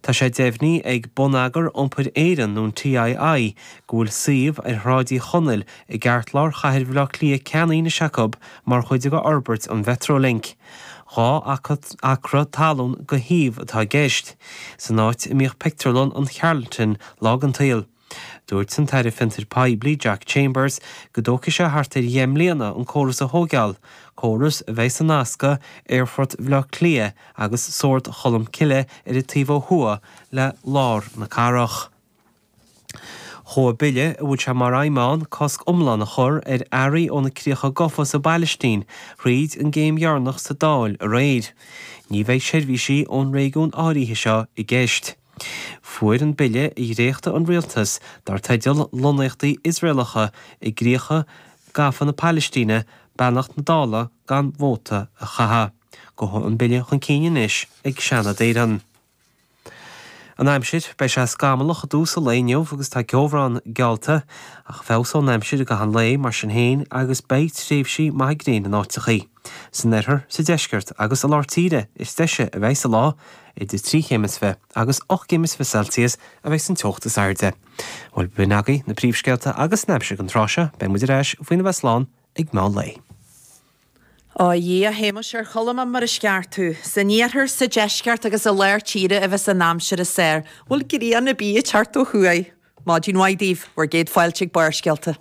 Tá sé deimhnithe ag Bonneagar Iompair Éireann, nó an TII, go bhfuil suíomh ar Shráid Uí Chonaill i gceartlár chathair Bhaile Átha Cliath ceannaithe anois acu mar chuid de fhorbairt an Mhetrolink. 2 acra talún go shuíomh atá i gceist, san áit a mbíodh pictiúrlann an Charlton lá den tsaol. Dúirt an tAire Fiontair Poiblí Jack Chambers go dtógfaidh sé thart ar dheich mbliana an córas a thóigeáil, córas a bheidh ag nascadh Aerfort Bhaile Átha Cliath agus Sord Cholm Cille ar an taobh ó thuaidh le lár na cathrach. Chuaigh bille a bhfuil sé mar aidhm ann cosc iomlán a chur ar earraí ó na críocha gafa sa bPailistín thríd an gcéim dheireanach sa Dáil aréir. Ní bheidh seirbhísí ón réigiún áirithe seo i gceist. Fuair an bille a dhréachtaigh an rialtas, dar teideal Lonnaíochtaí Iosraelacha i gcríocha gafa na Palaistíne, beannacht na Dála gan vóta a chaitheamh. Gabhfaidh an bille chun cinn anois ag Seanad Éireann. An aimsir, Beidh sé scamallach i dtús an lae inniu agus tá ceobhrán geallta, ach feabhsóidh an aimsir i gcaitheamh an lae mar sin féin agus beidh tréimhsí maithe gréine in áiteachaí. San oirthear, sa deisceart agus i lár tíre is deise a bheidh an lá, Idir 3 chéim is 20 agus 8 gcéim is 20 Celsius a bheidh an teocht is airde. Bhuel, b'in agaibh na príomhscéalta agus an aimsir don tráth seo. Beidh muid ar ais faoina bheith slán ag meán lae. Ó a Dhia, a Shéamais, ar chuala mé mar is ceart thú. San iarthar, sa deisceart agus i lár tíre a bheas an aimsir is fearr. Bhfuil grian ar bith ag teacht ó thuaidh? Maidin mhaith daoibh, bhur gcéad fáilte ag Barrscéalta.